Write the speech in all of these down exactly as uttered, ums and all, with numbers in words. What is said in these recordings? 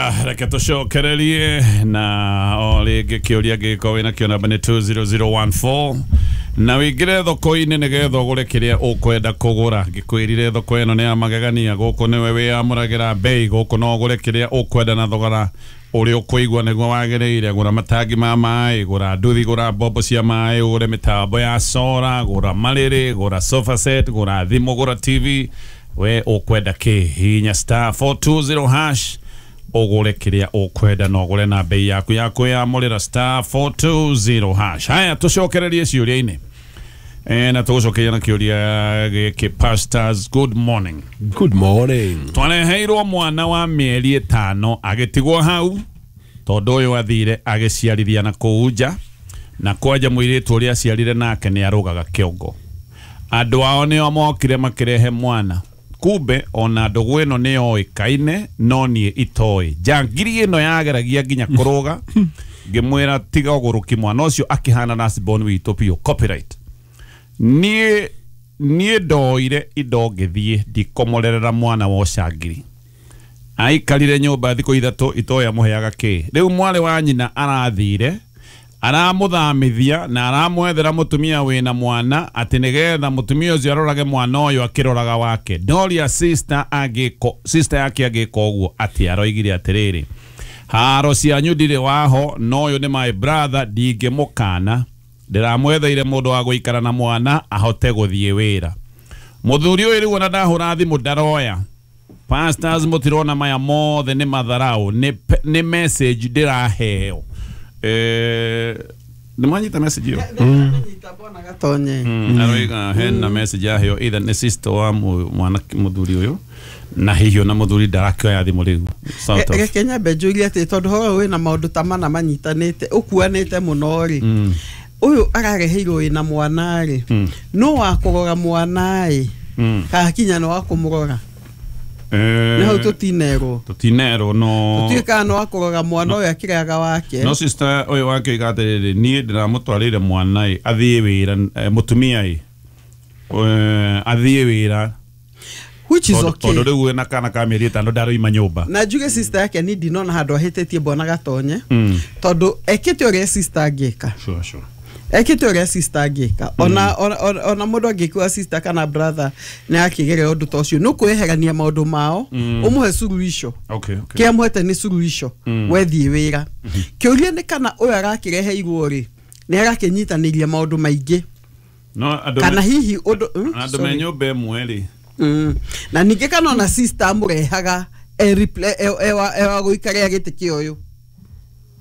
Haya, reke tũcokererie na o rĩngĩ kĩũria gĩgĩkorwo wĩna kĩo namba nĩ two zero zero one four na wĩingĩre thoko-inĩ nĩgetha ũgũre kĩrĩa ũkwenda kũgũra. Ngĩkwĩrire thoko ĩno nĩ ya magegania, gũkũ nĩwe wĩyamũragĩra bei, gũkũ no ũgũre kĩrĩa ũkwenda na thogora ũrĩa ũkũigua nĩguo wagĩrĩire. Gũra matangi ma maĩ, gũra nduthi, gũra mbombo cia maĩ, ũgũre mĩtambo ya sora, gũra marĩrĩ, gũra sofa set, gũra thimũ, gũra T V. We ũkwenda kĩ? Hihinya star four two zero hash ũgũre kĩrĩa ũkwenda na ũgũre na bei yaku ya kwĩyamũrĩra star four two zero hash. Haya, tũcokererie ciũria-inĩ. Eh, na tũgũcokeria na kĩũria gĩkĩ. Pastors, good morning. Good morning. Twareheirwo mwana wa mĩeri ĩtano agĩtigwo hau tondũ ũyũ athire agĩciarithia na kũu nja, na kwanja mũirĩtu ũrĩa aciarire nake nĩ arũgaga kĩongo. Andũ ao nĩo mokire makĩrehe mwana. Kumbe ona ndũgũ ĩno nĩ yoĩkaine no niĩ itoĩ. Njangiri ĩno yageragia nginya kũrũga, ngĩmwĩra tiga ũgũrũki, mwana ũcio akĩhana last born witũ biũ, copyright. Niĩ niĩ ndoire indo ngĩthiĩ ndikomorerera mwana wa ũcangiri. Aikarire nyũmba thikũ ithatũ itoĩ amũheaga kĩ. Rĩu mwarĩ wa nyina arathire aramũthamithia na aramwethera mũtumia wĩna mwana atĩ nĩgetha mũtumia ũcio arorage mwana ũyũ akĩroraga wake. Ndoria sister angĩko, sister yake angĩka ũguo atĩ aroigire atĩrĩrĩ, haro cianyu ndirĩ waho, no ũyũ nĩ my brother, ndingĩmũkana, ndĩramwetheire mũndũ wa gũikara na mwana ahote gũthiĩ wĩra. Mũthuri ũyũ rĩu ona ndahũra thimũ ndaroya. Pastors, mũtirona maya mothe nĩ matharau, nĩ message ndĩraheo. Eh, nĩ mwanyita message ĩyo? Gatonye. Aroiga hena message yaheo either nĩ sister wa mwana mũthuri ũyũ na hihi ona mũthuri ndarakĩoya thimũ rĩu. Sort of. Reke nyambe njũrie atĩ tondũ horo wĩna maũndũ ta mana manyitanĩte ũkuanĩte mũno rĩ, ũyũ arareheirwo wĩna mwana rĩ, no wa kũrora mwana ĩ kana kinya no wa kũmũrora? Nĩ hau tũtinerwo. Tũtinerwo no tũtiũĩ kana no wa kũrora mwana ũyũ akĩrĩaga wake. No sister ũyũ wake oiga atĩrĩrĩ, niĩ ndĩramũtwarĩire mwana ĩ athiĩ wĩra, mũtumia ĩ athiĩ wĩra, which is okay. Tondũ rĩu wĩna kana ka mĩeri ĩtano ndaroima nyũmba. Na njuge sister yake ni ndinona handũ ahĩtĩtie bwana Gatonye, tondũ ekĩte ũrĩa sister angĩka. Sure, sure. Ekĩte ũrĩa sister angĩka. Ona ona mũndũ angĩkua sister kana brother nĩ akĩgeria ũndũ ta ũcio, nĩ ũkwĩyeherania maũndũ mao, ũmũhe suluhisho. Okay, okay. Kĩrĩa mũhete nĩ suluhisho, wethiĩ wĩra. Kĩũria nĩ kana ũyũ arakĩreheirwo rĩ, nĩ arakĩnyitanĩria maũndũ maingĩ. No andũ kana hihi ũndũ andũ me nyũmba ĩmwe rĩ. Na ningĩ kana ona sister amũrehaga ewa gũikarĩra gĩtĩ kĩa ũyũ.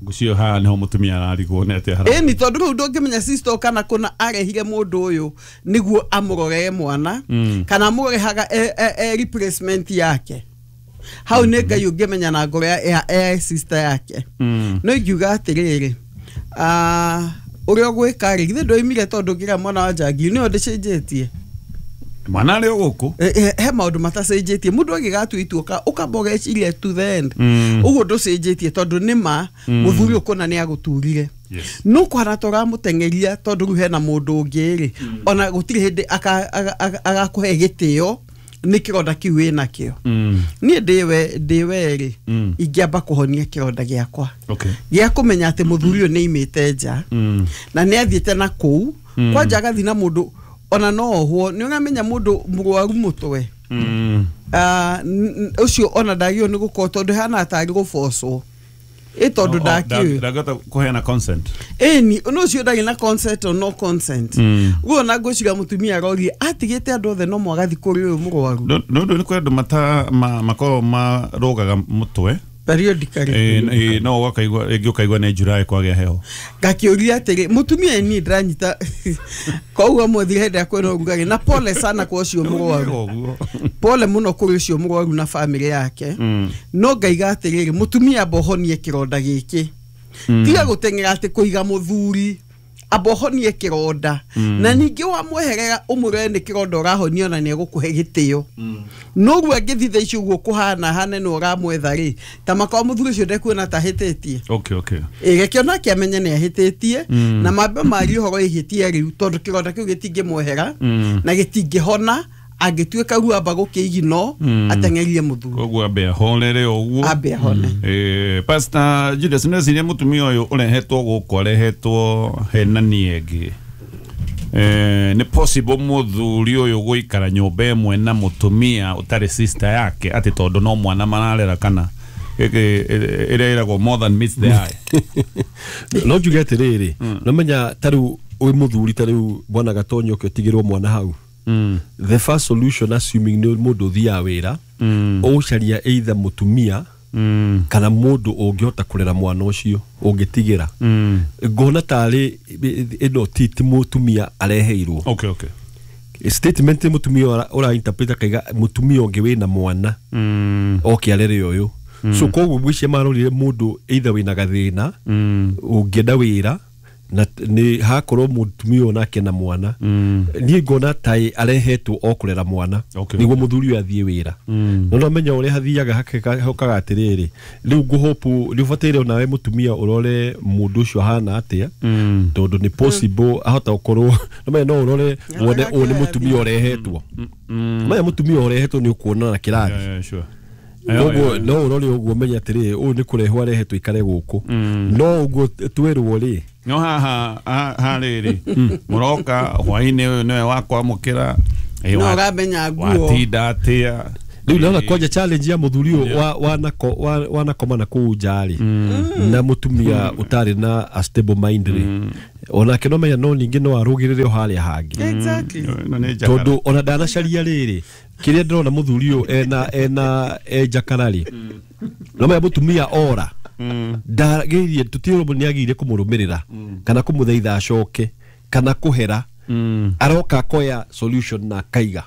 Ngũcio haha nĩho mũtumia ararigwo nĩ atĩa hara. Ĩni tondũ rĩu ndũngĩmenya sister kana kũna arehire mũndũ ũyũ nĩguo amũrorere mwana, kana amũrehaga e replacement yake. Hau nĩ Ngai ũngĩmenya na ngoro ya sister yake. No ingiuga atĩrĩrĩ, ũrĩa ũgwĩka rĩ, githĩ ndwoimire tondũ ngĩra mwana wa njangiri nĩyo ndĩcenjetie. Mwana arĩ o gũkũ? He maũndũ matacenjetie. Mũndũ angĩgatua itua ũkamba ũgeciria to the end. Ũguo ndũcenjetie tondũ nĩ ma mũthuri ũkũna nĩ agũturire. No kũhana ta ũramũteng'eria tondũ rĩu hena mũndũ ũngĩ rĩ, ona gũtirĩ hĩndĩ agakũhe gĩtĩo nĩ kĩronda kĩu wĩnakĩo. Niĩ ndĩwe ndĩwe rĩ, ingĩamba kũhonia kĩronda gĩakwa gĩa kũmenya atĩ mũthuri ũyũ nĩ aimĩte nja na nĩ athiĩte na kũu kwanja agathiĩ na mũndũ ona no ohwo. Nĩ ũramenya mũndũ mũrwaru mũtwe ũcio ona ndagĩrĩirwo nĩ gũkorwo tondũ hana tarĩ gũbocwo ĩ tondũ ndakĩũĩ ndangĩhota kũheana consent. Ĩni no ũcio ndarĩ na consent or no consent. Ũguo ona ngwĩciria mũtumia aroria atigĩte andũ othe no mwagathiĩ kũrĩ ũyũ mũrwaru. Nĩ ũndũ nĩ kũrĩ andũ makoragwo marũgaga mũtwe periodically. No ũkaigua rĩngĩ ũkaigua nĩ July kwagĩa heho. Ngakĩũria atĩrĩ mũtumia niĩ ndĩranyita koguo mũthire hĩndĩ ĩrĩa kwĩna ũrugarĩ, na pole sana kwa ũcio mũrwaru, pole mũno kũrĩ ũcio mũrwaru na family yake. No ngaiga atĩrĩrĩ, mũtumia amba ũhonie kĩronda gĩkĩ, tiga gũteng'era atĩ kũiga mũthuri, amba ũhonie kĩronda. Na ningĩ wamweherera ũmũrore nĩ kĩronda ũrahonia ona nĩ egũkũhe gĩtĩo. Noguo angĩthiĩ thaa ici ũguo kũhana hane nĩ ũramwetha rĩ, ta makorwo mũthuri ũcio ndekuona ta ahĩtĩtie. Okay, okay. Ĩ reke onake amenye nĩ ahĩtĩtie, na mambe marie ũhoro ihĩtia rĩu tondũ kĩronda kĩu gĩtingĩmwehera na gĩtingĩhona Angĩtuĩka ruo amba gũkĩigino ateng'erie mũthuri. Koguo ambe ahorere ũguo. Ambe ahone. Eh, Pastor Julius nĩciria mũtumia ũyũ ũrehetwo gũkũ arehetwo henani ĩngĩ. Eh, nĩ possible mũthuri ũyũ gũikara nyũmba ĩmwe na mũtumia ũtarĩ sister yake atĩ tondũ no mwana mararera kana ĩrĩa ĩragwo more than meets the eye. No njuge atĩrĩrĩ, no menya ta rĩu wĩ mũthuri ta rĩu bwana Gatonyo ũke ũtigĩrwo mwana hau. Mm. The first solution, assuming nĩ mũndũ ũthiaga wĩra, ũgũcaria either mũtumia Mm. kana mũndũ ũngĩhota kũrera mwana ũcio ũngĩtigĩra. Mm. Ngona tarĩ ĩno ti ti mũtumia areheirwo. Okay, okay. Statement mũtumia ũra- ũra interpret akaiga mũtumia ũngĩ wĩna mwana Mm. oke arere ũyũ. So koguo ngwĩciria marorire mũndũ either wĩna gathĩna Mm. ũngĩenda wĩra na nĩ hakorwo mũtumia ũyũ nake na mwana. Mm. Niĩ ngona taĩ arehetwo o kũrera mwana Okay. nĩguo mũthuri ũyũ athiĩ wĩra. Mm. No nomenya ũrĩa hathiaga hake- hokaga atĩrĩrĩ, rĩu ngũhopu nĩ ũbataire onawe mũtumia ũrore mũndũ ũcio ahana atĩa, Mm. tondũ nĩ possible ahota gũkorwo nomenya no ũrore wone ũyũ nĩ mũtumia ũrehetwo. Mm. Menya mũtumia ũrehetwo nĩ ũkuona na kĩrathi. Yeah, yeah, sure. Koguo no ũrore ũguo ũmenye atĩrĩrĩ, ũyũ nĩ kũrehwo arehetwo ikare gũkũ. No ũguo twĩrwo rĩ, No haha ha- harĩrĩ mũroka hwainĩ ũyũ nĩwe wakwamũkĩra. Ĩ, No wa- ũramenya nguo. watinda atĩa. Rĩu naona kwanja challenge ya mũthuri ũyũ wa- wanako- wa- wanakoma na kũu nja rĩ na mũtumia ũtarĩ na a stable mind rĩ, onake no menya no ningĩ no arũgĩrĩre o harĩa hangĩ. Exactly. Ĩno nĩ njakara. Tondũ ona ndanacaria rĩrĩ kĩrĩa ndĩrona mũthuri ũyũ ena ena e njakara rĩ, no menya mũtumia ora ndagĩrĩire tũtirĩ nĩ agĩrĩire kũmũrũmĩrĩra kana kũmũthaitha acoke kana kũhera. Mm. Aroka akoya solution na akaiga.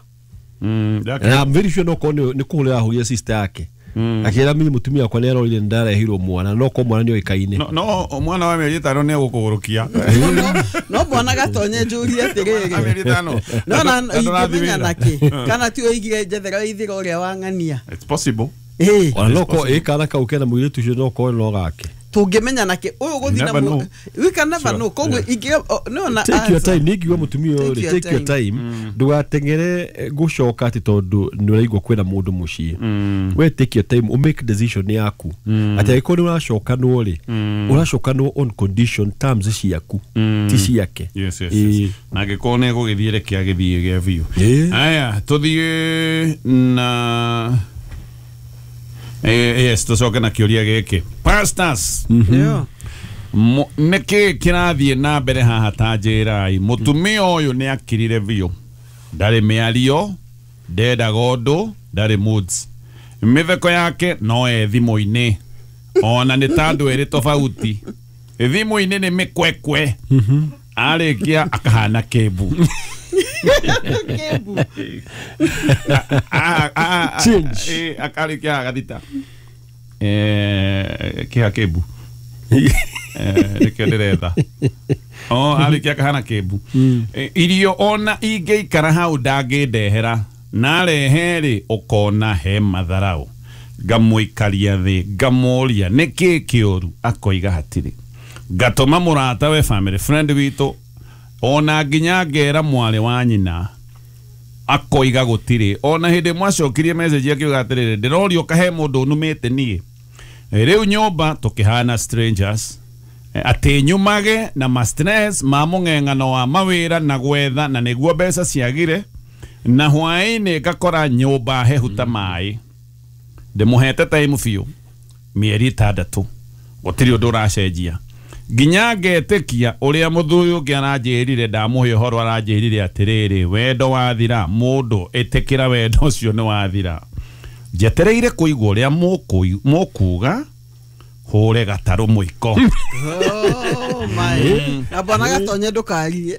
Mm. Ndake- Na I'm very sure no korwo nĩ nĩ kũhũrĩra ahũrire sister yake akĩra mimi mũtumia wakwa nĩ arorire nĩ ndarehirwo mwana no korwo mwana nĩ oĩkaine. No, no mwana wa mĩeri ĩtano nĩ egũkũgũrũkia. No bwana Gatonye njũrie Wa atĩrĩrĩ, mĩeri ĩtano. no na Na ndũrathiĩ ingĩmenya wĩra. nakĩ kana ti ũigire njethera ithira ũrĩa wang'ania. It's possible. Ĩĩ. Ona no korwo ĩ kana kau kena mũirĩtu ũcio no korwo no gake. Tũngĩmenya nakĩ ũyũ gũthiĩ na Never mũ- know. we can never Sure. know. Koguo ingĩ no na Take your answer. time. Nĩ ngiuga mũtumia ũyũ rĩ, Take your take your time, ndũgateng'ere eh, gũcoka atĩ tondũ nĩ ũraigua kwĩna mũndũ mũciĩ. We take your time, ũmake decision yaku atĩ angĩkorwo nĩ ũracokanwo rĩ, ũracokanwo on condition terms ciaku ti ciake. Yes, yes, Ĩĩ. yes. Na angĩkorwo nĩ egũgĩthiĩ reke agĩthiĩ gĩa biũ. Ĩĩ. Aya, tũthiĩ na Eh, yes, tũcoke na kĩũria gĩkĩ. Pastors, Yeah. Mo- nĩkĩ kĩrathiĩ na mbere haha ta njĩrai? Mũtumia ũyũ nĩ akirire biũ, ndarĩ mĩario, ndendaga ũndũ, ndarĩ moods, mĩtheko yake no e thimũ-inĩ, ona nĩ ta andũ erĩ tofauti. Thimũ-inĩ nĩ mĩkwekwe, arĩkia akahana kĩmbu. Kĩmbu. Ah, ah, ah, Change. eh, akarĩkia agathita. Eh, kĩha kĩmbu. Eh, nĩkĩo ndĩretha. O arĩkia akahana kĩmbu. Eh, irio ona ingĩikara hau ndangĩndehera, narehe rĩ ũkona he matharau. Ngamũikaria thĩ ngamũria nĩkĩ kĩũru, akoiga hatirĩ. Ngatũma mũrata we family friend witũ, ona nginya ngera mwarĩ wa nyina, akoiga gũtirĩ. Ona hĩndĩ mwacokirie message akiuga atĩrĩrĩ, ndĩrorio kahe mũndũ ũnumĩte niĩ. Rĩu nyũmba tũkĩhana strangers. Eh, atĩ nyumage na ma stress ma mũng'eng'ano wa mawĩra na gwetha na nĩguo mbeca ciagire, na hwaĩ-inĩ ngakora nyũmba hehu ta maĩ. Ndĩmũhete time biũ mĩeri ĩtandatũ, gũtirĩ ũndũ ũracenjia, nginya ngetĩkia ũrĩa mũthuri ũngĩ aranjĩrire. Ndamũhe ũhoro aranjĩrire atĩrĩrĩ, wendo wathira mũndũ ĩtĩkĩra wendo ũcio nĩ wathira. Njetereire kũigua ũrĩa mũkũi- mũkuga hũre gatarũ mũiko. Oh my. Na bwana Gatonye ndũkarie.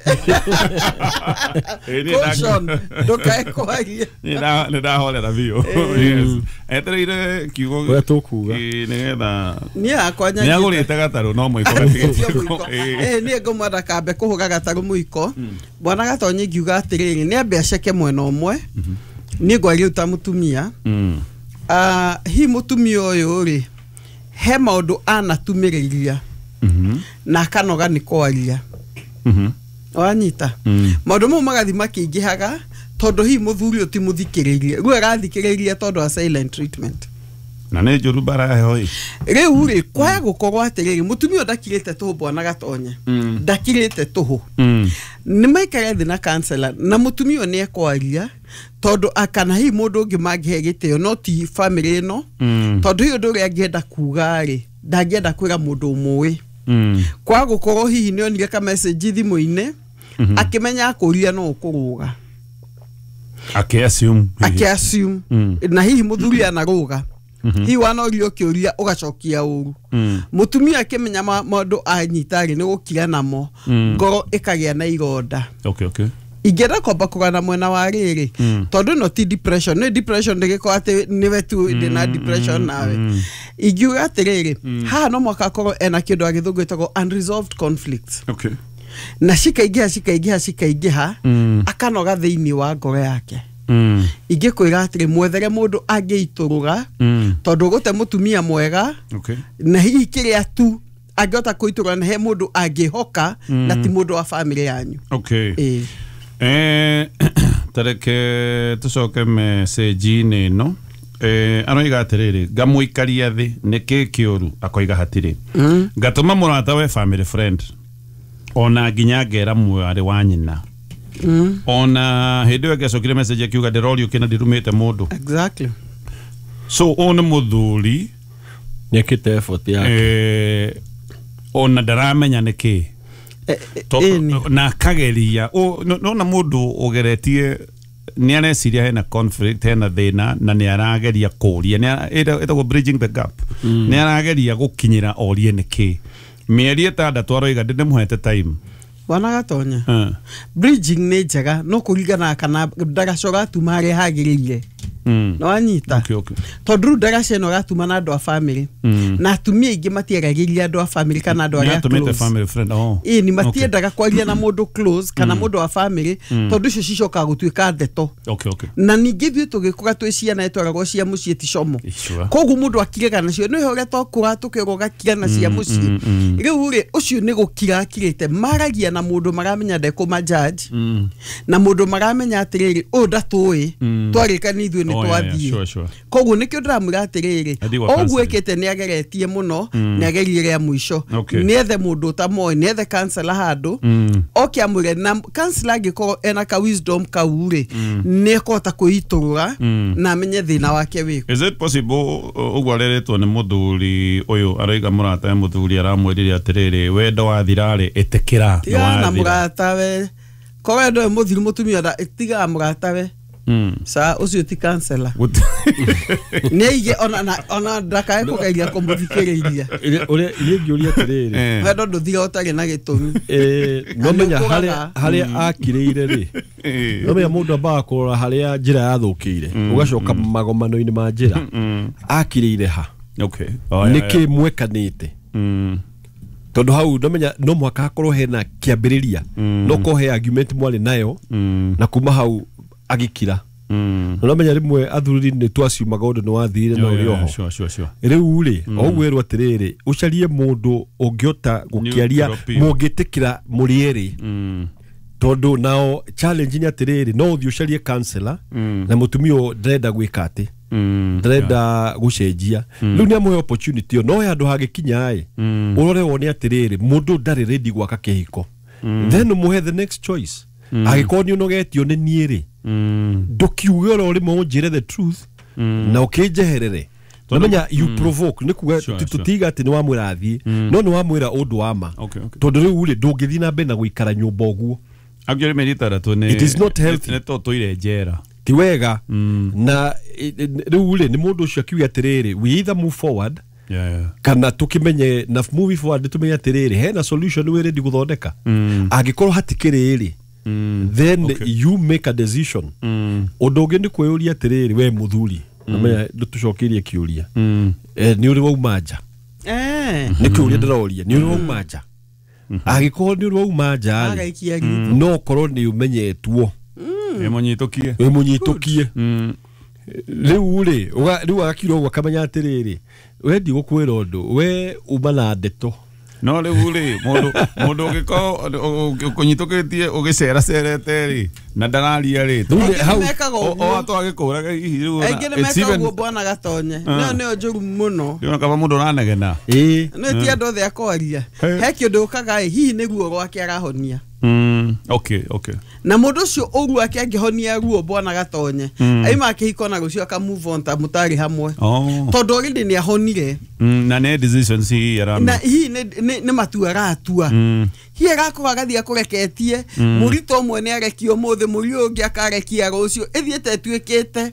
Ĩ, niĩ nda- Caution, ndũkae kwaria. Niĩ nda- nĩ ndahorera biũ. Yes. Etereire kiugo Ũrĩa tũkuga. Ĩ, nĩgetha Niĩ hakwa nĩ agũrĩte gatarũ no mũiko gatigĩtie. mũiko. Eh, niĩ ngũmwenda kambe kũhũra gatarũ mũiko. Bwana Gatonye ngiuga atĩrĩrĩ, nĩ ambe aceke mwena ũmwe. Niĩ ngwaria ta mũtumia. Mm. Ah, hi mũtumia ũyũ rĩ, he maũndũ anatumĩrĩria Mhm. na akanoga nĩ kwaria. Mhm. Wanyita? Mm. Maũndũ mau magathi makĩingĩhaga Tondũ hihi mũthuri ũyũ ti mũthikĩrĩrie. Rĩu arathikĩrĩria tondũ wa silent treatment. Na nĩ njũru mbara heho ĩ. Rĩu rĩ kwaya gũkorwo atĩrĩrĩ mũtumia ũyũ ndakirĩte tũhũ bwana Gatonye. Ndakirĩte tũhũ. Nĩ maikare thĩ na counselor na mũtumia ũyũ nĩ ekwaria tondũ akana hihi mũndũ ũngĩ mangĩhe gĩtĩo no ti family ĩno. Tondũ hihi ũndũ ũrĩa angĩenda kuga rĩ ndangĩenda kwĩra mũndũ ũmũĩ. Kwa gũkorwo hihi nĩ onire ka message thimũ-inĩ akĩmenya akũria no ũkũrũga. Akĩ assume. Akĩ assume. Na hihi mũthuri anarũga. Hihi wanorio kĩũria ũgacokia ũru. Mũtumia akĩmenya maũndũ anyita rĩ nĩ gũkira namo ngoro ĩkagĩa na ironda. Okay, okay. Ingĩenda kwamba kũgana mwena wa rĩrĩ tondũ no ti depression nĩ depression ndĩgĩkorwo atĩ nĩwe tu ndĩna depression nawe. Ingiuga atĩrĩrĩ haha no mwaka akorwo ena kĩndũ a gĩthũngũ gĩtagwo unresolved conflicts. Okay. Na cikaingĩha cikaingĩha cikaingĩha akanoga thĩinĩ wa ngoro yake. Ingĩkwĩra atĩrĩ mwethere mũndũ angĩitũrũra tondũ ũgũte mũtumia mwega. Okay. Na hihi kĩrĩa tu angĩhota kũitũrũra na he mũndũ angĩhoka na ti mũndũ wa family yanyu. Okay. Eh. Eh, tareke tucoke message-inĩ ĩno. Eh, aroiga atĩrĩrĩ ngamũikaria thĩ nĩkĩ kĩũru akoiga hatirĩ. Ngatũma mũrata we family friend ona nginya ngera mwarĩ wa nyina. Ona hĩndĩ ĩyo ĩngĩacokire message akiuga ndĩrorio kĩna ndirumĩte mũndũ. Exactly. So ũyũ nĩ mũthuri nĩekĩte effort yake. Eh, ona ndaramenya nĩkĩ. Na akageria nona mũndũ ũgeretie nĩ areciria hena conflict hena thĩna na nĩ arageria kũria ĩtagwo bridging the gap. Nĩ arageria gũkinyĩra orie nĩkĩ. Mĩeri ĩtandatũ aroiga ndĩmũhete time. Bwana Gatonya. Bridging nĩ njega no kũringana kana ndagaca ũgatuma harĩa hagĩrĩire. No wanyita. Okay, okay. Tondũ rĩu ndagaca ĩno ũgatuma na andũ a family. Na atumia aingĩ matiaragĩria andũ a family kana andũ arĩa close. Family friend. Oh. Ĩĩ ni matiendaga kwaria na mũndũ close kana mũndũ wa family tondũ icio cicokaga gũtuĩka ndeto. Okay, okay. Na ningĩ ithuĩ tũgĩkũra twĩ ciana ĩtwaragwo cia mũciĩ ti como. Koguo mũndũ akiraga nacio nĩ ũrĩa twakũra tũkĩrwo ũgakira na cia mũciĩ. Rĩu rĩ ũcio nĩ gũkira akirĩte maragia na mũndũ maramenya ndekũma judge. Na mũndũ maramenya atĩrĩrĩ ũyũ ndatũĩ twarĩka nĩ ithuĩ nĩ twathiĩ. Sure, sure. Koguo nĩkĩo ndĩramwĩra atĩrĩrĩ ũguo ĩkĩte nĩ ageretie mũno nĩ agerie rĩa mũico nĩ ethe mũndũ ũtamoĩ nĩ ethe counselor handũ oke amwĩre na counselor angĩkorwo ena ka wisdom kau rĩ nĩ ekũhota kwĩitũrũra na amenye thĩna wake wĩkũ. Is it possible ũguo areretwo nĩ mũthuri ũyũ aroiga mũrata we mũthuri aramwĩrire atĩrĩrĩ wendo wathira rĩ ĩtĩkĩra nĩ wathira. Mũrata we korwo wendo wĩ mũthiru mũtumia tiga mũrata we. Sa ũcio ti counselor. Nĩ aige ona ona ndakae kũgeria kũmũthikĩrĩria. Ũrĩa niĩ ngĩũria atĩrĩrĩ wendo ndũthira ũtarĩ na gĩtũmi. Eh, no menya harĩa harĩa akirĩire rĩ no menya mũndũ ambaga kũrora harĩa njĩra yathũkĩire ũgacoka magomano-inĩ ma njĩra akirĩire ha. Okay. Nĩkĩ mwekanĩte tondũ hau no menya no mũhaka hakorwo hena kĩambĩrĩria no korwo he argument mwarĩ nayo na kuma hau agikira. No menya rimwe athuri nĩ twaciumaga ũndũ nĩ wathire na ũrĩ oho. Sure, sure, sure. Rĩu rĩ o ũguo atĩrĩrĩ ũcarie mũndũ ũngĩhota gũkĩaria mũngĩtĩkĩra mũrĩ erĩ tondũ nao challenge nĩ atĩrĩrĩ no ũthiĩ ũcarie counselor na mũtumia ũyũ ndarenda gwĩka atĩ ndarenda gũcenjia rĩu nĩ amũhe opportunity ĩyo no he handũ hagĩkinya ĩ ũrore wone atĩrĩrĩ mũndũ ndarĩ ready gwaka kĩhiko then ũmũhe the next choice. Angĩkorwo nĩ ũnogetio nĩ niĩ rĩ ndũkiuge oro rĩmwe ũnjĩre the truth na ũkĩnjeherere. Namenya you provoke nĩ kuga tũtiga atĩ nĩ wamwĩra athiĩ no nĩ wamwĩra ũndũ wa ma tondũ rĩu rĩ ndũngĩthiĩ na mbere na gũikara nyũmba ũguo. Actually mĩeri ĩtandatũ nĩ it is not healthy. Nĩ tũtũire njera ti wega. Na rĩu rĩ nĩ mũndũ ũcio akiuga atĩrĩrĩ we either move forward Yeah, yeah. Kana tukimenye na moving forward tumenye atĩrĩrĩ hena solution wĩ ready gũthondeka angĩkorwo hatikĩrĩ rĩ then okay. You make a decision. Ũndũ ũngĩ nĩ kwĩyũria atĩrĩrĩ we mũthuri namenya ndũtũcokerie kĩũria nĩ ũrĩ wauma nja nĩ kĩũria ndĩroria nĩ ũrĩ wauma nja angĩkorwo nĩ ũrĩ wauma nja rĩ no ũkorwo nĩ ũmenyetwo wĩ mũnyitũkie wĩ mũnyitũkie rĩu rĩ rĩu agakira ũguo akamenya atĩrĩrĩ we ndigũkwĩra ũndũ we uma na ndeto No rĩu rĩ mũndũ mũndũ ũngĩkorwo ũkũnyitũkĩtie ũgĩceracerete rĩ na ndararia rĩ Hau o twagĩkũraga hihi rĩu aingĩ nĩ mekaga ũguo bwana Gatonye. Nĩyo nĩyo njũru mũno. Ndĩrona kaba mũndũ ũranegena. Ĩĩ. Nĩ ti andũ othe akwaria. He kĩndũ ũkaga ĩ hihi nĩ ruo rwake arahonia. Mm, okay, okay. Na mũndũ ũcio ũru ake angĩhonia ruo bwana Gatonye. Aima akĩhiko na rũcio aka move on ta mũtarĩ hamwe. Oh. Tondũ already nĩ ahonire. Mm, na nĩ decisions hihi arame. Na hihi nĩ nĩ matua aratua. Mm. Hihi agakorwo agathiĩ akũreketie mũritũ ũmwe nĩ arekio ũmũthĩ mũri ũyũ ũngĩ akarekia rũciũ ĩthiĩte ĩtuĩkĩte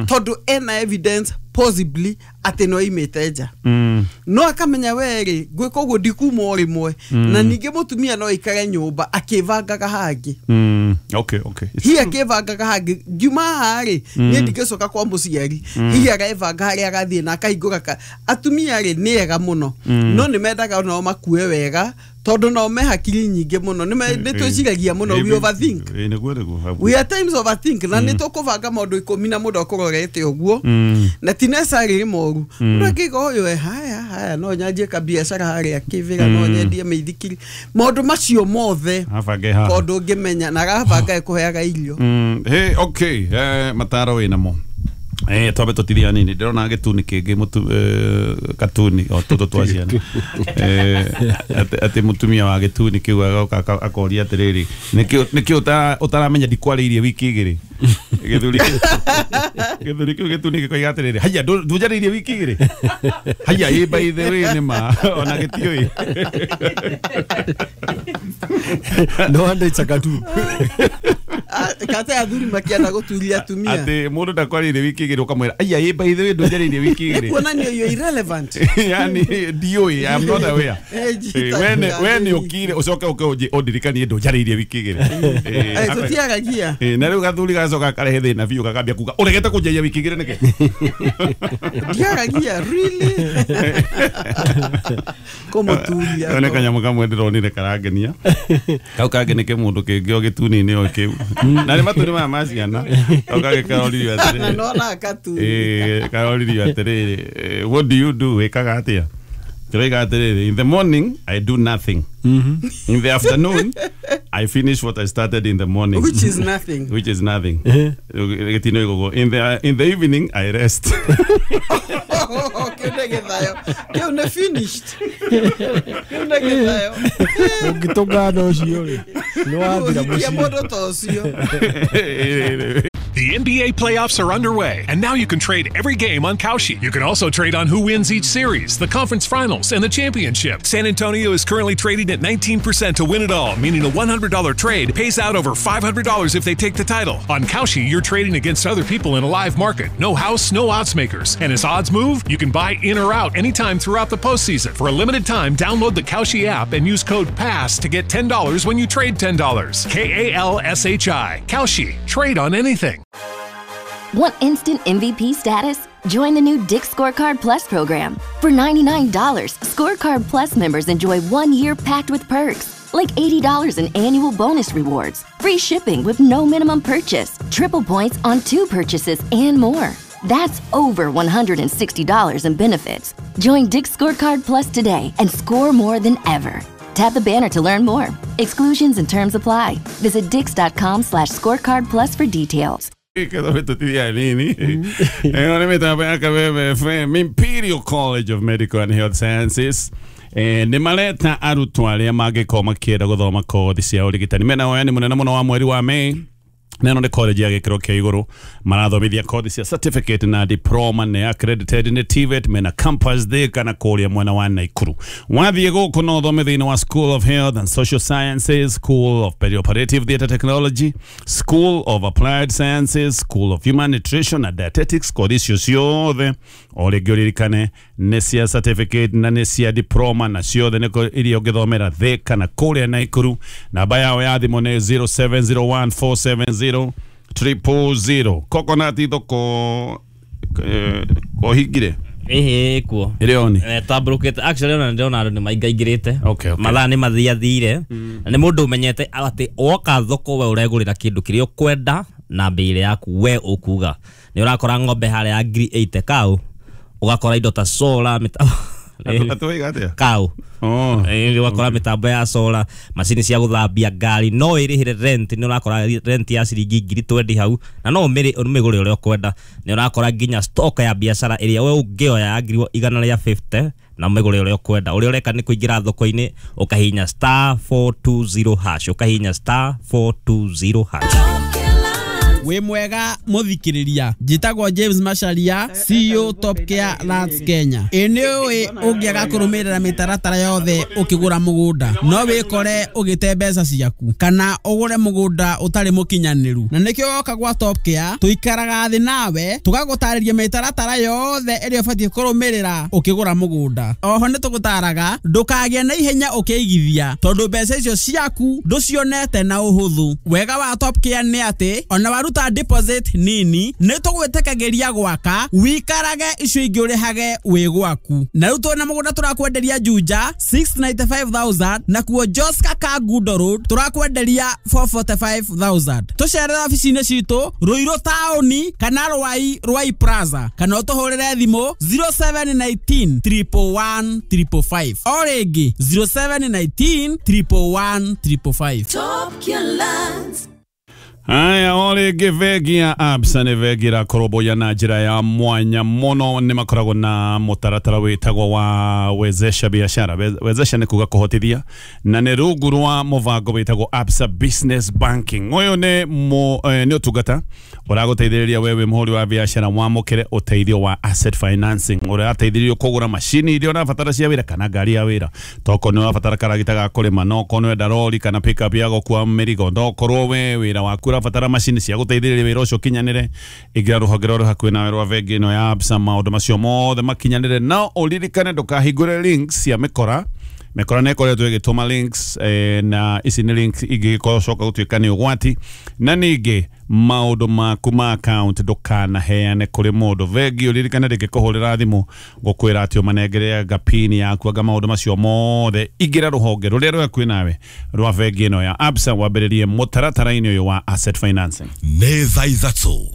tondũ ena evidence possibly atĩ no imĩte nja. Mm. No akamenya we rĩ ngwĩka ũguo ndikuma o rĩmwe na ningĩ mũtumia no aikare nyũmba akĩbangaga hangĩ. Mm. Okay, okay. Hihi akĩbangaga hangĩ ngiuma haha rĩ niĩ ndingĩcoka kwa mũciari hihi agebanga harĩa agathiĩ na akahingũra ka atumia rĩ nĩ ega mũno no nĩ mendaga onao makue wega tondũ nao me hakiri nyingĩ mũno nĩ twĩciragia mũno we overthink. Ĩ nĩguo nĩguo. We at times overthink na nĩ tũkũbanga maũndũ ikũmi na mũndũ akũrorete ũguo na ti necessarily moru mũndũ akĩiga ũyũ e haya haya no nyanjie kabiacara harĩa kĩvĩra no nyendie mĩithikiri maũndũ macio mothe abange haha tondũ ũngĩmenya na agabanga ĩkũheaga irio. Mm, hey, okay, eh, mataro wĩnamo. Eh, twambe tũtithia nini ndĩrona gĩtuni kĩngĩ mũtu eh, katuni o tũtũ twa ciana eh, atĩ mũtumia wa gĩtuni kĩu agoka akoria atĩrĩrĩ nĩkĩ nĩkĩ ũtaramenya ndikwarĩirie wiki igĩrĩ gĩthuri gĩthuri kĩu gĩtuni gĩkoiga atĩrĩrĩ haiya ndũnjarĩirie wiki igĩrĩ haiya ĩ by the way nĩ ma ona gĩtiũĩ no wonder it's a cartoon. Kate athuri makienda gũturia atumia atĩ mũndũ ndakwarĩirie wiki igĩrĩ ũkamwĩra aiya ĩ by the way ndũnjarĩirie wiki igĩrĩ kuonania you're irrelevant yani ndiũĩ I'm not aware we we nĩ ũkire ũcoke ũke ũndirikanie ndũnjarĩirie wiki igĩrĩ tũtiaragia na rĩu gathuri gacoka karehe thĩna biũ gakambia kuga ũregete kũnjaria wiki igĩrĩ nĩkĩ ndiaragia really kũmũturia nĩ kanyamũ kamwe ndĩronire karangenia kau kangĩ nĩ kĩmũndũ kĩngĩ o gĩtuni-inĩ o kĩu na nĩ matuni maya ma ciana kau kangĩ karoririo atĩrĩrĩ nona katuni eh karoririo atĩrĩrĩ what do you do wĩkaga atĩa Kĩroiga atĩrĩrĩ in the morning I do nothing. Mm-hmm. In the afternoon I finish what I started in the morning, which is nothing. Which is nothing. In the in the evening I rest. Kĩu nĩ gĩthayo kĩu nĩ finished kĩu nĩ gĩthayo ũngĩtũngana ũcio rĩ nĩ wathira mũciĩ mũndũ ta ũcio. The N B A playoffs are underway, and now you can trade every game on Kalshi. You can also trade on who wins each series, the conference finals, and the championship. San Antonio is currently trading at nineteen percent to win it all, meaning a one hundred dollar trade pays out over five hundred dollars if they take the title. On Kalshi, you're trading against other people in a live market. No house, no odds makers. And as odds move, you can buy in or out anytime throughout the postseason. For a limited time, download the Kalshi app and use code PASS to get ten dollars when you trade ten dollars. K A L S H I. Kalshi. Trade on anything. Want instant M V P status? Join the new Dick's Scorecard Plus program. For ninety-nine dollars, Scorecard Plus members enjoy one year packed with perks, like eighty dollars in annual bonus rewards, free shipping with no minimum purchase, triple points on two purchases, and more. That's over one hundred sixty dollars in benefits. Join Dick's Scorecard Plus today and score more than ever. Tap the banner to learn more. Exclusions and terms apply. Visit dicks.com slash scorecard plus for details. Imperial College of Medical and Health Sciences nĩ mareta arutwo arĩa mangĩkorwo makĩenda gũthoma kothi cia ũrigitani mena woyani mũnene mũno wa mweri wa Mei neno nĩ college ya gĩkĩro kĩa igũrũ marathomithia kothi cia certificate na diploma nĩ accredited nĩ T V E T mena campus Thika na kũrĩa mwena wa Naikuru. Wathiĩ gũkũ no ũthome thĩinĩ wa School of Health and Social Sciences, School of Perioperative Theatre Technology, School of Applied Sciences, School of Human Nutrition and Dietetics. Kothi icio ciothe o rĩngĩ ũririkane nĩ cia certificate na nĩ cia diploma na ciothe nĩ iria ũngĩthomera Thika na kũrĩa Naikuru. Namba yao ya thimũ nĩ zero seven zero one four seven zero triple zero. Coconut thoko kohingire ĩhĩ kuo ĩrĩoni tambũrũkĩte actually ona ndĩrona andũ nĩ maingaingĩrĩte mathaa nĩ mathiathire na nĩ mũndũ ũmenyete atĩ woka thoko we ũregũrĩra kĩndũ kĩrĩa ũkwenda na mbei yaku we ũkuga nĩ ũrakora ng'ombe harĩa ya ngiri eighty kau ũgakora indo ta solar mĩtambo Atwaiga atia? Kau. Oh. Eh wakora mitambo ya solar, macini cia guthambia ngari, no irihire rent, ni urakora rent ya ciringi ngiri twendi hau na no umire umigure uria ukwenda. Ni urakora nginya stock ya biacara iria we ungioya ya ngiri igana ria fifty na umigure uria ukwenda. Uria ureka ni kuingira thoko-ini ukahinya star four two zero hash, ukahinya star four two zero hash. Wĩ mwega mũthikĩrĩria, njĩtagwo James Macharia, C E O Top Care Lands Kenya. Ĩ nĩ ũĩ ũngĩaga kũrũmĩrĩra mĩtaratara yothe ũkĩgũra mũgũnda no wĩkore ũgĩte mbeca ciaku kana ũgũre mũgũnda ũtarĩ mũkinyanĩru, na nĩkĩo woka gwa Top Care tũikaraga thĩ nawe tũgagũtarĩria mĩtaratara yothe ĩrĩa ũbatiĩ kũrũmĩrĩra ũkĩgũra mũgũnda. Oho nĩ tũgũtaraga ndũkagĩe na ihenya ũkĩigithia tondũ mbeca icio ciaku ndũcionete na ũhũthũ. Wega wa Top Care nĩ atĩ ona waruta deposit nini nĩ tũgwĩtĩkagĩria gwaka wikarage icio ingĩ ũrĩhage wĩ gwaku. Na rĩu twĩna mũgũnda tũrakwenderia Juja six ninety-five thousand na kuo Joska Kangundo Road tũrakwenderia four forty-five thousand. Tũcerere obici-inĩ citũ Ruiru taũni kana Rwai Rwai Plaza kana ũtũhũrĩre thimũ zero seven nineteen triple one triple five. O rĩngĩ zero seven nineteen triple one triple five. Top Care Lands. Aya ore bengi ya Absa nĩ bengi ĩrakũrũmbũiya na njĩra ya mwanya mũno. Nĩ makoragwo na mũtaratara wĩtagwo wa wezesha biashara. Wezesha nĩ kuga kũhotithia, na nĩ rungu rwa mũbango wĩtagwo Absa Business Banking. Ũyũ nĩ nĩ ũtungata ũragũteithĩrĩria wewe mũhũri wa biashara wamũkĩre ũteithio wa asset financing. Ũrateithĩrĩrio kũgũra macini iria ũrabatara cia wĩra kana ngari ya wĩra, tokorwo nĩ ũrabatara karagita ga kũrĩma, no okorwo nĩ wenda rori kana pickup ya gũkua mĩrigo, ndokorwo we wĩra waku ũrabatara macini cia gũteithĩrĩria wĩra ũcio ũkinyanĩre, ingĩra rũhonge rũrĩa hakuhĩ nawe rwa bengi ĩno ya Absa, maũndũ macio mothe makinyanĩre. No ũririkane ndũkahingũre links cia mĩkora. Mĩkora nĩ ĩkoretwo ĩgĩtũma links eh, na ici nĩ links ingĩgĩcoka gũtuĩka nĩ ũgwati. Na ningĩ maũndũ maku ma account ndũkanaheane kũrĩ mũndũ. Bengi ũririkane ndĩngĩkũhũrĩra thimũ gũkwĩra atĩ ũmanengere anga pin yaku anga maũndũ macio mothe. Ingĩra rũhonge rũrĩa rwĩ hakuhĩ nawe rwa bengi ĩno ya Absa wambĩrĩrie mũtaratara-inĩ ũyũ wa asset financing. Nĩ thaa ithatũ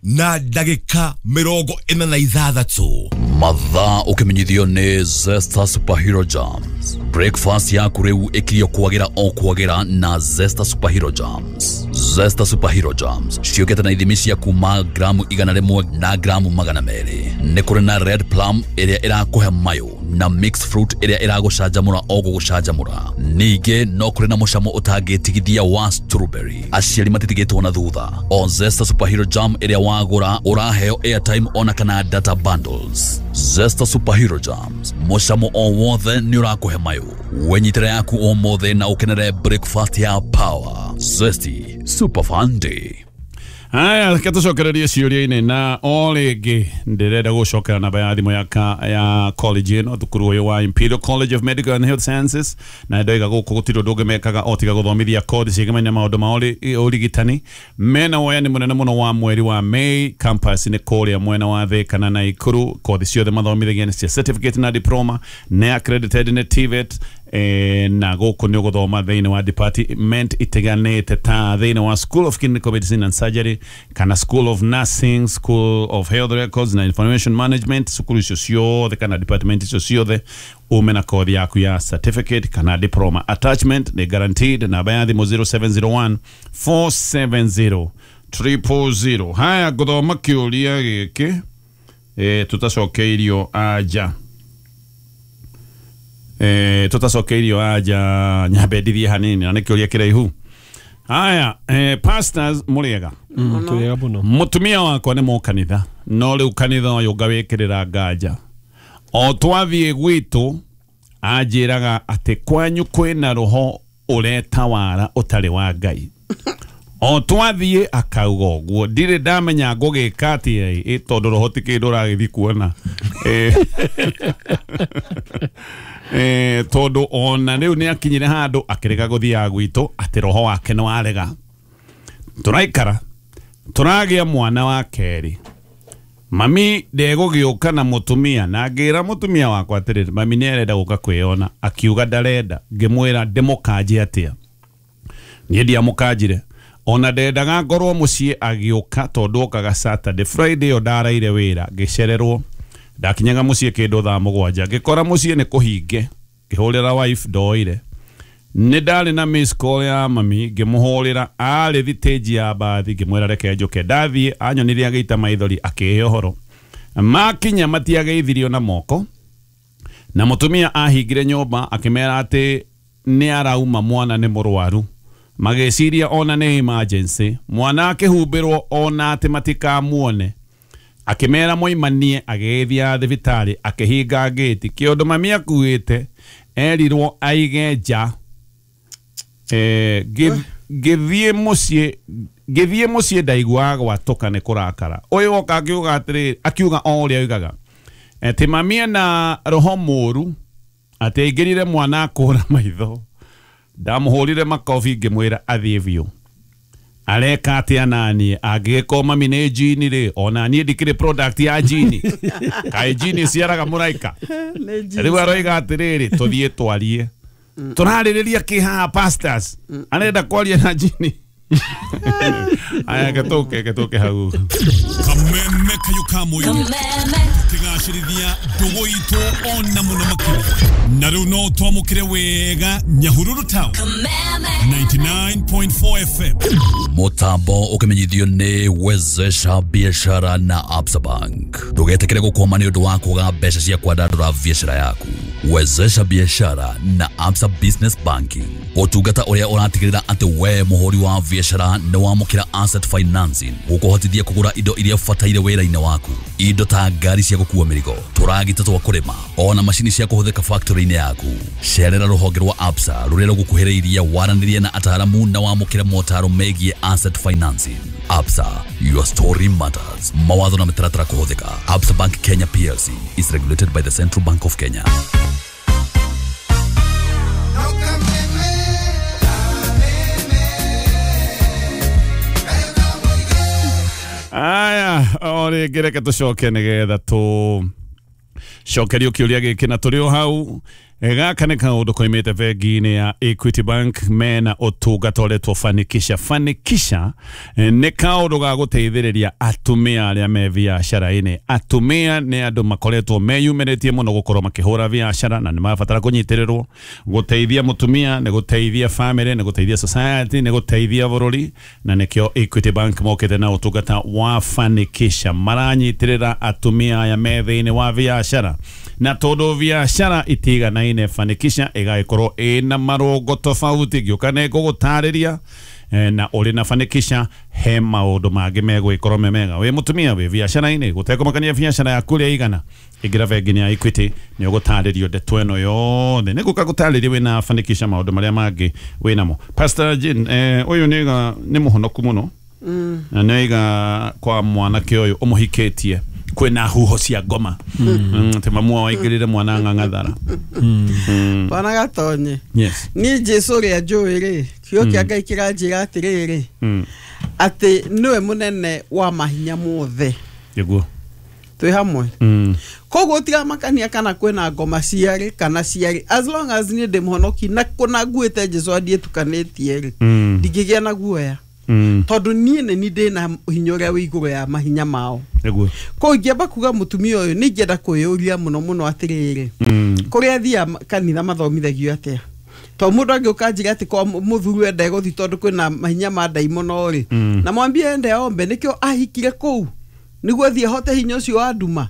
na ndagĩka mĩrongo ĩna na ithathatũ. Mathaa ũkĩmenyithio nĩ Zesta Superhero Jams. Breakfast yaku rĩu ĩkirio kwagĩra o kwagĩra na Zesta Superhero Jams. Zesta Superhero Jams ciũkĩte na ithimi cia kuma gramu igana rĩmwe na gramu magana merĩ. Nĩ kũrĩ na red plum ĩrĩa ĩrakũhe mayo na mixed fruit ĩrĩa ĩragũcanjamũra o gũgũcanjamũra. Ningĩ no kũrĩ na mũcamo ũtangĩtigithia wa strawberry. Aciari matitigĩtwo na thutha. O Zesta Superhero Jam ĩrĩa wagũra ũraheo airtime ona kana data bundles. Zesta Superhero Jams, mũcamo o wothe nĩ ũrakũhe mayo. Wenyitĩra yaku ũmũthĩ na ũkenere breakfast ya power. Zesty Super Fun Day. Aya, reke tũcokererie ciũria-inĩ na o rĩngĩ ndĩrenda gũcokera namba ya thimũ ya, ka, ya college ĩno, thukuru ũyũ wa Imperial College of Medical and Health Sciences, na ndoiga gũkũ gũtirĩ ũndũ ũngĩ mekaga o tiga gũthomithia kothi ciĩgemaine maũndũ ma ũrigitani. Mena woyani mũnene mũno wa mweri wa May, campus nĩ kũrĩa mwena wa Thika na Naikuru. Kothi ciothe mathomithagia nĩ cia certificate na diploma, nĩ accredited nĩ T V E T. E, na gũkũ nĩ ũgũthoma thĩinĩ wa department itiganĩte ta thĩinĩ wa School of Clinical Medicine and Surgery kana School of Nursing, School of Health Records na Information Management. Cukuru icio ciothe kana department icio ciothe ume na kothi yaku ya certificate kana diploma. Attachment nĩ guaranteed. Namba ya thimũ zero seven zero one four seven zero triple zero. Haya, ngũthoma kĩũria gĩkĩ e, tũtacokeirio anja. Eh, tutacokeirio aja nyambe ndithie hanini na nĩ kĩũria kĩraihu. Haya, eh, pastors mũrĩega? Tũrĩega mũno. Mũtumia wakwa nĩ mũkanitha, no rĩu kanitha ũyũ ngawĩkĩrĩra nganja. O twathiĩ gwitũ anjĩraga atĩ kwanyu kwĩna roho ũretawara ũtarĩ wa Ngai. O twathiĩ akauga ũguo, ndirĩ ndamenya ngũgĩka atĩa ĩ tondũ roho ti kĩndũ ũragĩthiĩ kuona. Eh, eh tondu ona riu ni akinyire handu akirega guthiaga gwitu ati roho wake no arega. Turaikara turagia mwana wa keri, mami ndegũgĩũka na mũtumia, na ngĩra mũtumia wakwa atĩrĩrĩ, mami nĩ arenda gũka kwĩona, akiuga ndarenda. Ngĩmwĩra ndĩmũkanjie atĩa, niĩ ndiamũkanjire ona ndendaga ngorwo mũciĩ agĩũka tondũ okaga Saturday Friday ĩyo ndaraire wĩra ngĩcererwo. Ndakinyaga muciĩ kĩndũ thaa mũgwanja, ngĩkora mũciĩ nĩ kũhinge, ngĩhũrĩra wife ndoire. Nĩ ndarĩ na miss call ya mami, ngĩmũhũrĩra arĩ thitĩnji ya mbathi, ngĩmwĩra reke njũke. Ndathiĩ anyonirie agĩita maithori akĩhe ũhoro. Makinya matiageithirio na moko, na mũtumia ahingire nyũmba akĩmera atĩ nĩ arauma mwana nĩ mũrwaru. Magĩciria ona nĩ emergency, mwana akĩhumbĩrwo ona atĩ matikamuone. Akĩmera moimanie agĩgĩthiĩ thibitarĩ akĩhinga ngĩti. Kĩũndũ mami akuĩte erirwo aige nja. Eh, ngĩthiĩ mũciĩ ngĩthiĩ mũciĩ ndaiguaga gwatũka nĩ kũrakara. Ũyũ oka akiuga atĩrĩrĩ, akiuga o ũrĩa oigaga atĩ mami ena roho mũru, atĩ aingĩrire mwana akũra maitho. Ndamũhũrire makobi ngĩmwĩra athiĩ biũ. Areka atĩa naniĩ angĩgĩkorwo mami nĩ jini rĩ, ona niĩ ndikĩrĩ product ya jini. Kaĩ jini ĩciaraga mũraika? Rĩu aroiga atĩrĩrĩ, tũthiĩ twarie. Tũrarĩrĩria kĩ haha pastors? Arenda kwaria na jini. Aya gĩtũke gĩtũke hau. Kameme kayo ka mũingĩ tũkĩgacĩrithia ndũgũ itũ ona mũno makĩria. Na rĩu no twamũkĩre wega Nyahururu Town ninety-nine point four F M. Mutambo ukimenyithio nĩ Wezesha Biashara na Absa Bank. Ndũgetĩkĩre gũkwama nĩ ũndũ wa kwaga mbeca cia kwandandũra biashara yaku. Wezesha Biashara na Absa Business Banking, ũtungata ũrĩa ũratigĩrĩra atĩ we mũhũri wa biashara nĩ wamũkĩra asset financing gũkũhotithia kũgũra indo iria ũbataire wĩra-inĩ waku, indo ta ngari cia gũkua mĩrigo, tũragita twa kũrĩma, ona macini cia kũhũthĩka factory-inĩ yaku. Cerera rũhonge rwa Absa rũrĩa rũgũkuhĩrĩirie, waranĩrie na ataaramu na wamũkĩre motaro megiĩ asset financing. Absa, your story matters. Mawatho na mĩtaratara kũhũthĩka. Absa Bank Kenya P L C is regulated by the Central Bank of Kenya. Aya, o rĩngĩ reke tũcoke nĩgetha tũcokerio kĩũria gĩkĩ na tũrĩ o hau. Gaka nĩ kaũndũ koimĩte bengi-inĩ ya Equity Bank, mena ũtungata ũretwo Fanikisha. Fanikisha nĩ kaũndũ ga gũteithĩrĩria atumia arĩa me biacara-inĩ. Atumia nĩ andũ makoretwo meyumĩrĩtie mũno gũkorwo makĩhũra biacara na nĩ marabatara kũnyitĩrĩrwo. Gũteithia mũtumia nĩ gũteithia family, nĩ gũteithia society, nĩ gũteithia bũrũri, na nĩkĩo Equity Bank mokĩte na ũtungata wa Fanikisha. Maranyitĩrĩra atumia aya me thĩinĩ wa biacara, na tondũ biacara itiganaine, Fanikisha ĩgagĩkorwo ĩna marũngo tofauti. Ngĩũka nĩ ngũgũtarĩria na ũrĩ na Fanikisha he maũndũ mangĩ megwĩkorwo me mega. Wĩ mũtumia wĩ biacara-inĩ, gũtekũmakania biacara yaku ũrĩa ĩigana, ingĩra bengi-inĩ ya Equity nĩ ũgũtarĩrio ndeto ĩno yothe. Nĩ ngũka gũtarĩria wĩna Fanikisha maũndũ marĩa mangĩ wĩnamo. Pastor Jane, eh, ũyũ nĩ nĩ mũhonoku mũno na nĩaiga kwa mwanake ũyũ ũmũhikĩtie kwĩna huho cia ngoma. Atĩ mamu wao aingĩrire mwana ng'ang'athara. Bwana Gatonye. Yes. Niĩ Jesũ ũrĩa njũĩ rĩ, kiugo kĩa Ngai kĩranjĩra atĩrĩrĩ, atĩ nĩwe mũnene wa mahinya mothe. Nĩguo. Twĩ hamwe. Koguo tigamakania kana kwĩna ngoma ciarĩ kana ciarĩ, as long as niĩ ndĩ mũhonoki na kũna nguĩte Jesũ andiĩtukanĩtie rĩ, ndingĩgĩa na guoya. Tondũ niĩ nĩ niĩ ndĩna hinya ũrĩa wĩ igũrũ ya mahinya mao. Nĩguo. Koguo ingĩamba kuga mũtumia ũyũ nĩ ingĩenda kwĩyũria mũno mũno atĩrĩrĩ, kũrĩa athiaga kanitha mathomithagio atĩa? Tondũ mũndũ angĩũka anjĩre atĩ kwa mũthuri we ndegũthiĩ tondũ kwĩna mahinya ma ndaimono rĩ, na mwambie ende ombe, nĩkĩo ahikire kũu nĩguo athiĩ ahote hinya ũcio wa nduma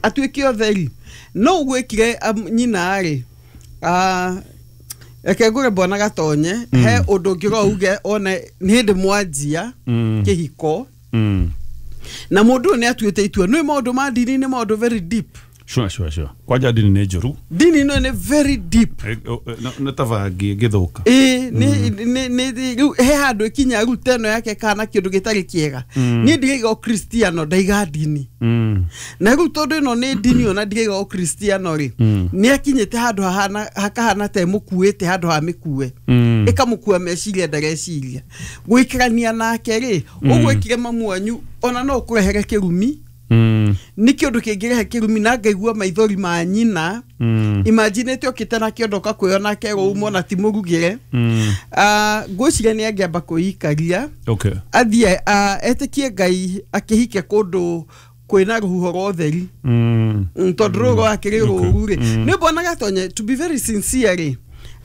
atuĩke ũtheri. No ũgwĩkire nyina rĩ, reke ngũre Bwana Gatonye, he ũndũ ũngĩ uge one nĩ hĩndĩ mwanjia kĩhiko na mũndũ ũyũ nĩ atuĩte itua. Nĩ maũndũ ma ndini nĩ maũndũ very deep. Sure, sure, sure. Kwanja ndini nĩ njũru. Ndini ĩno nĩ very deep. Nĩ ta bangi ĩngĩthũka. Ĩĩ, nĩ nĩ rĩu he handũ ĩkinya rĩu ta ĩno yake kana kĩndũ gĩtarĩ kĩega. Niĩ ndiraiga ũkristiano, ndaiga ndini. Na rĩu tondũ ĩno nĩ ndini ona ndiraiga ũkristiano rĩ, nĩ akinyĩte handũ hahana hakahana ta ĩmũkuĩte handũ ha mĩkue. Ĩkamũkua meciria ndareciria. Gũikarania nake rĩ, ũgwĩkire mamu wanyu ona no ũkũrehere kĩrumi. Nĩ kĩũndũ kĩngĩrehe kĩrumi na ngaigua maithori ma nyina. Imagine ĩte ũkĩte na kĩondo ũkakwĩona akerwo uma ona ti mũrugĩre. Ngwĩciria nĩ angĩamba kwĩikaria. Okay. Athiĩ etĩkie Ngai akĩhike kũndũ Kwĩna rũhuho rwa ũtheri. Mm. Mm, tondũ rũrũ rwakĩrĩ rũru rĩ nĩ mbonaga Tonye, to be very sincere rĩ,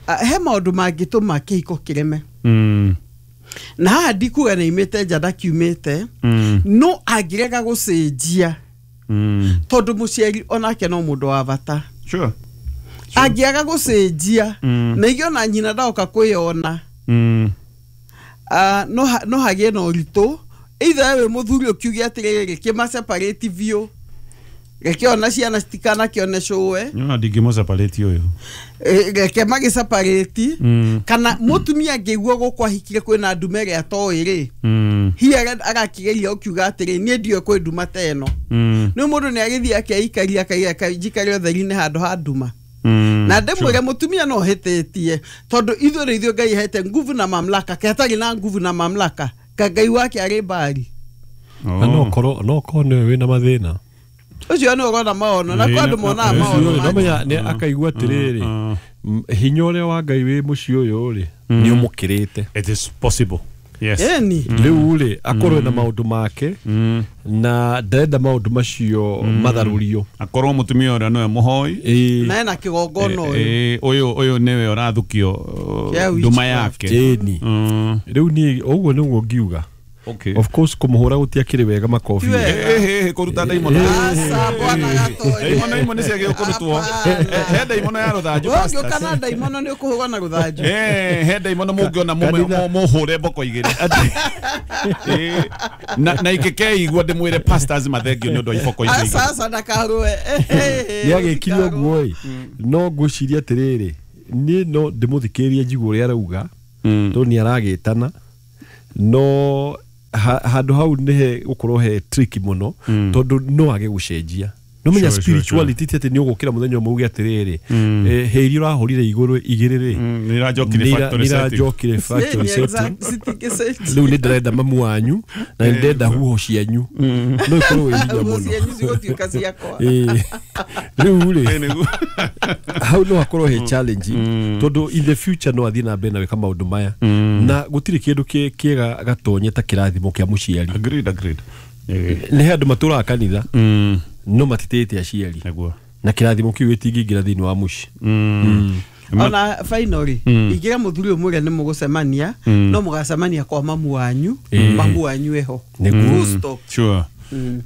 ah, he maũndũ mangĩtũma kĩhiko kĩreme. Mm. Na haha ndikuga nĩ imĩte nja ndakiumĩte, Mm. no angĩrega gũcenjia, Mm. tondũ mũciari onake no mũndũ wa bata. Sure. Angĩaga gũcenjia, Mm. na ingĩ ona nyina ndoka kwĩyona, Mm. ah, no ha- no hagĩe na ũritũ, either we mũthuri ũkiuge atĩrĩrĩ, kĩmaseparate biũ, reke ona ciana citikanakĩone cũwe. Nyona ndingĩmũseparate ũyũ. Eh, reke magĩseparate, Mm. kana mũtumia angĩigua gũkũ ahikire kwĩna ndume ĩrĩa atoĩ rĩ, Mm. hihi ara- arakĩgeria ũkiuga atĩrĩ, niĩ ndiũĩ kwĩ nduma ta ĩno. Mm. Nĩ mũndũ nĩ agĩthiĩ akeikaria akaiga njikare ũtheri-inĩ handũ ha nduma. Mm. Na ndĩmwĩre mũtumia no hĩtĩtie, tondũ ithuĩ rĩ ithuĩ Ngai ahete nguvu na mamlaka, ke hatarĩ na nguvu na mamlaka ka Ngai wake arĩ mbari. Na no korwo no korwo nĩwe wĩna mathĩna. Ũcio nĩ ũrona maono na kwa andũ monaga Ĩĩ, maono. Ũcio rĩ, nomenya nĩ akaigua atĩrĩrĩ, Mm. m- hinya ũrĩa wa Ngai wĩ mũciĩ ũyũ rĩ nĩ ũmũkĩrĩte. It is possible. Yes. Ĩni. Rĩu rĩ akorwo na maũndũ make Mm. na ndarenda maũndũ macio matharũrio. Akorwo mũtumia ũrĩa nĩwe mũhoi. Ĩĩ. Na ena kĩgongona ũyũ. Eh, ũyũ ũyũ nĩwe ũrathukio uh, Kĩa nduma witchcraft. yake. Ĩni. Mm. Rĩu niĩ ũguo nĩguo ngiuga. Okay. Of course kũmũhũra gũtiakĩrĩ wega makobi. Ti wega. Eh, eh, eh, kũruta ndaimono. Aca, bwana Gatonye. Ndaimono imwe nĩ ciagĩrĩirwo kũrutwo. Hapana. He ndaimono ya rũthanju, Wewe ũngĩũka pastors. na ndaimono nĩ ũkũhũrwo na rũthanju. Eh, he ndaimono mũngĩona mũme- Kanitha- mũ- mũhũre mboko igĩrĩ. Eh, na na ingĩkeigua ndĩmwĩre pastors mathengio nĩ ũndũ wa iboko icio igĩrĩ. Aca, aca, ndakarũe. Nĩ agĩkire ũguo ĩ, no ngwĩciria atĩrĩrĩ, niĩ no ndĩmũthikĩrĩrie njigue ũrĩa arauga, Mm. tondũ nĩ aragĩtana, no ha- handũ hau nĩhe gũkorwo he tricky mũno, tondũ no age gũcenjia. No menya Sure, sure, spirituality ti atĩ nĩ ũgũkĩra mũthenya ũmwe uge atĩrĩrĩ, eh, hĩ iria ũrahũrire igũrũ igĩrĩ rĩ, Mm, nĩ iranjokire nĩ ira- factory nĩ setting. iranjokire factory Ĩni, setting. exact, citingĩcenjia. Rĩu nĩ ndĩrenda mamu wanyu na nĩ ndĩrenda huho cianyu, no ikorwo wĩ hinya Huho mũno. cianyu cigũtuĩka ciakwa. Ĩĩ. Rĩu rĩ Eh, nĩguo. hau no hakorwo he challenge, tondũ in the future no athiĩ na mbere na gwĩka maũndũ maya, na gũtirĩ kĩndũ kĩ- kĩega Gatonye ta kĩrathimo kĩa mũciari. Agreed, agreed. Eh, Nĩ he andũ matũraga kanitha mm, no matitĩte aciari, nĩguo. na kĩrathimo kĩu gĩtingĩingĩra thĩinĩ wa mũciĩ. Mm. Ona finally ingĩra mũthuri ũyũ mwĩre nĩ mũgũcemania, no mũgacemania kwa mamu wanyu, mamu wanyu eho. Nĩguo. Full stop. Sure.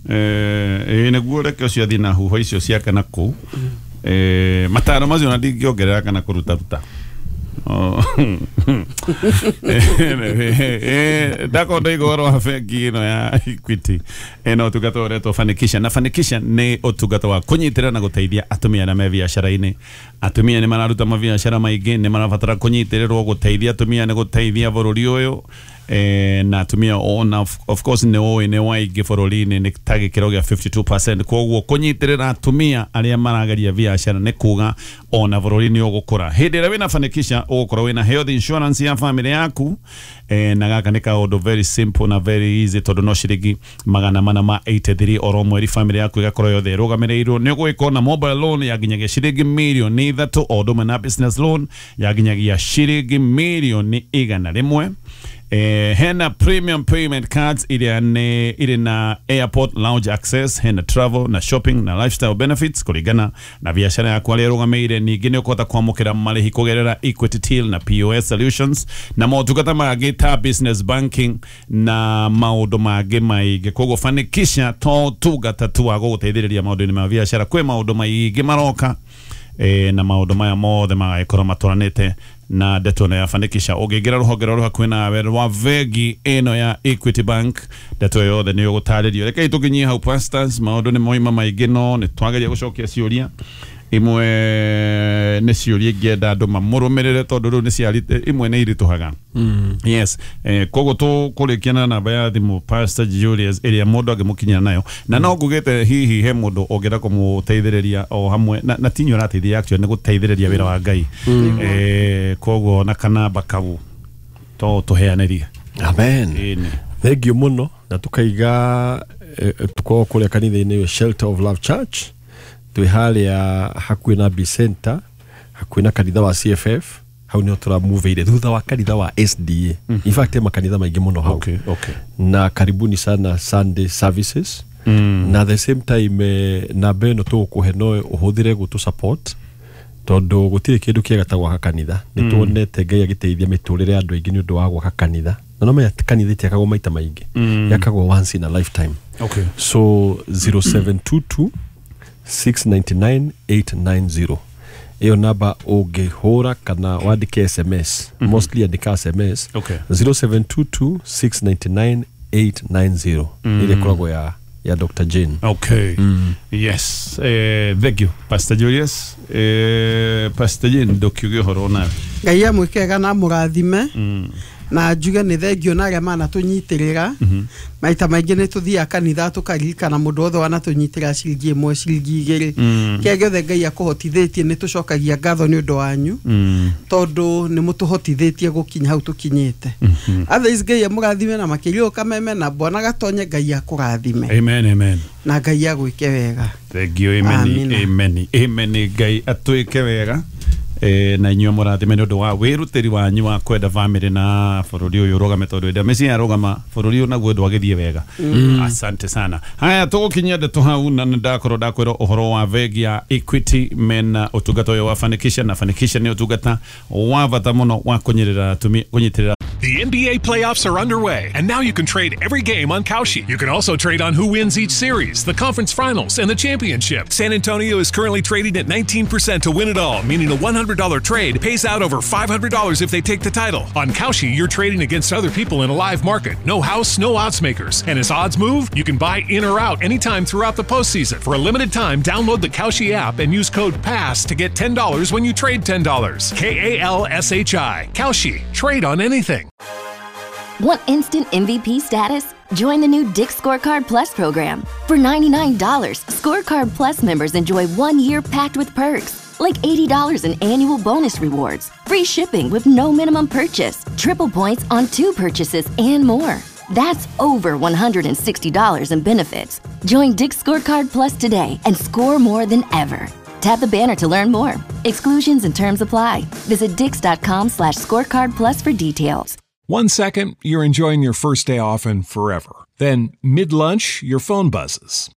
Eh, eh, nĩguo reke ũcio athiĩ na huho icio ciake na kũu. Eh, mataro macio na ndingĩongerera kana kũrutaruta. Oh. Eh, ndakorwo ndoiga ũhoro wa bengi ĩno ya Equity ĩno ũtungata ũretwo Fanikisha, na Fanikisha nĩ ũtungata wa kũnyitĩrĩra na gũteithia atumia arĩa me biacara-inĩ. Atumia nĩ mararuta mabiacara maingĩ, nĩ marabatara kũnyitĩrĩrwo. Gũteithia atumia nĩ gũteithia bũrũri ũyũ. Eh, na atumia ona of, of course nĩ ũĩ nĩ waingĩ bũrũri-inĩ nĩ ta gĩkĩro gĩa fifty-two percent, koguo kũnyitĩrĩra atumia arĩa marageria biacara nĩ kuga ona bũrũri nĩ ũgũkũra. Hĩndĩ ĩrĩa wĩna Fanikisha ũgũkorwo wĩna health insurance ya family yaku. eh, na gaka nĩ kaũndũ very simple na very easy, tondũ no ciringi magana mana ma eighty-three oro mweri family yaku ĩgakorwo yothe ĩrũgamĩrĩirwo. Nĩ ũgũgĩkorwo na mobile loan ya nginyagia ciringi mirioni ithatũ, o ũndũ ũmwe na business loan ya nginyagia ciringi mirioni igana rĩmwe. Eh, hena premium payment cards iria nĩ irĩ na airport lounge access, hena travel na shopping na lifestyle benefits kũringana na biacara yaku arĩa ĩrũgamĩire. Ningĩ nĩ ũkũhota kwamũkĩra marĩhi kũgerera Equity Till na P O S solutions na motungata mangĩ ta business banking na maũndũ mangĩ maingĩ. Koguo Fanikisha to tungata tu wa gũgũteithĩrĩria maũndũ-inĩ ma biacara, kwĩ maũndũ maingĩ maroka, eh, na maũndũ maya mothe magagĩkorwo matwaranĩte na ndeto ĩno ya Fanikisha. Ũngĩingĩra rũhonge rwa hakuhĩ nawe rwa bengi ĩno ya Equity Bank, ndeto ĩyo yothe nĩ ũgũtarĩrio. Rekei tũkinyie hau, pastors. Maũndũ nĩ moima maingĩ, no nĩ twageria gũcokia ciũria imwe. Nĩ ciũria ingĩenda andũ mamũrũmĩrĩre, tondũ rĩu nĩ ciari imwe nĩ iritũhaga. Yes, eh, koguo tũkũrĩkia na namba ya thimũ, Pastor Julius, ĩrĩa mũndũ angĩmũkinyĩra nayo, na no ngugĩte hihi he mũndũ ũngĩenda kũmũteithĩrĩria o hamwe na, na tinyo ũrateithia, actually nĩ gũteithĩrĩria wĩra wa Ngai. eh, koguo na kanamba kau to tũheanĩrie. Amen. Ĩni. Thengio mũno, na tukaiga eh, tukorwo kũrĩa kanitha-inĩ Shelter of Love Church, twĩ harĩa hakuhĩ na B Center, hakuhĩ na kanitha wa C F F. Hau nĩho tũramuvĩire thutha wa kanitha wa S D A. In fact, he makanitha maingĩ mũno hau. Okay, okay. Na karibuni sana Sunday services. mm. Na the same time eh, namba ĩno tũgũkũhe no ũhũthĩre gũtũ support tondũ gũtirĩ kĩndũ kĩega ta gwaka kanitha. Nĩ tuonete Ngai agĩteithia mĩtũrĩre ya andũ aingĩ nĩ ũndũ wa gwaka kanitha, na no menya kanitha itiakagwo maita maingĩ, mm. yakagwo once in a lifetime. Okay. So zero seven two two six nine nine eight nine zero iyo namba ũngĩhũra kana wandĩke S M S, mm -hmm. mostly andĩka S M S. Okay. zero seven two two six nine nine eight nine zero mm. Ile koragwo ya ya Doctor Jane. Okay. Mm. Yes. Eh, thank you Pastor Julius. Eh, Pastor Jane ndokiuge horo nawe. Ngai amwĩkega na mũrathime. Mm. Na njuge nĩ thengio na arĩa manatũnyitĩrĩra. Mm -hmm. Maita maingĩ nĩ tũthiaga kanitha tũkaririkana mũndũ wothe wanatũnyitĩra ciringi ĩmwe ciringi igĩrĩ. Mm. Kĩrĩa gĩothe Ngai akũhotithĩtie nĩ tũcokagia ngatho nĩ ũndũ wanyu. Mm. Tondũ nĩ mũtũhotithĩtie gũkinya hau tũkinyĩte. Mm -hmm. Otherwise Ngai amũrathime na makĩria ũkameme na Bwana Gatonye Ngai akũrathime. Amen, amen. Na Ngai agwĩke wega. Thank you. Amen. Amen. Amen. Ngai atwĩke wega. E, na inyuĩ mũrathime nĩ ũndũ wa wĩrutĩri wanyu wa kwenda family na bũrũri ũyũ ũrũgame tondũ hĩndĩ ĩrĩa mĩciĩ yarũgama bũrũri ũyũ naguo ndwagĩthiĩ wega. Mm. Asante sana. Haya tũgũkinyia ndeto hau na nĩndakorwo ndakwĩra ũhoro wa bengi ya Equity mena ũtungata ũyũ wa Fanikisha, na Fanikisha nĩ ũtungata wa bata mũno wa kũnyitĩrĩra atumia kũnyitĩrĩra. The N B A playoffs are underway, and now you can trade every game on Kalshi. You can also trade on who wins each series, the conference finals, and the championship. San Antonio is currently trading at nineteen percent to win it all, meaning a one hundred dollar trade pays out over five hundred dollars if they take the title. On Kalshi, you're trading against other people in a live market. No house, no odds makers. And as odds move, you can buy in or out anytime throughout the postseason. For a limited time, download the Kalshi app and use code PASS to get ten dollars when you trade ten dollars. K A L S H I. Kalshi. Trade on anything. Want instant M V P status? Join the new Dick's Scorecard Plus program. For ninety-nine dollars, Scorecard Plus members enjoy one year packed with perks, like eighty dollars in annual bonus rewards, free shipping with no minimum purchase, triple points on two purchases, and more. That's over one hundred sixty dollars in benefits. Join Dick's Scorecard Plus today and score more than ever. Tap the banner to learn more. Exclusions and terms apply. Visit dicks.com slash scorecard plus for details. One second, you're enjoying your first day off and forever. Then, mid-lunch, your phone buzzes.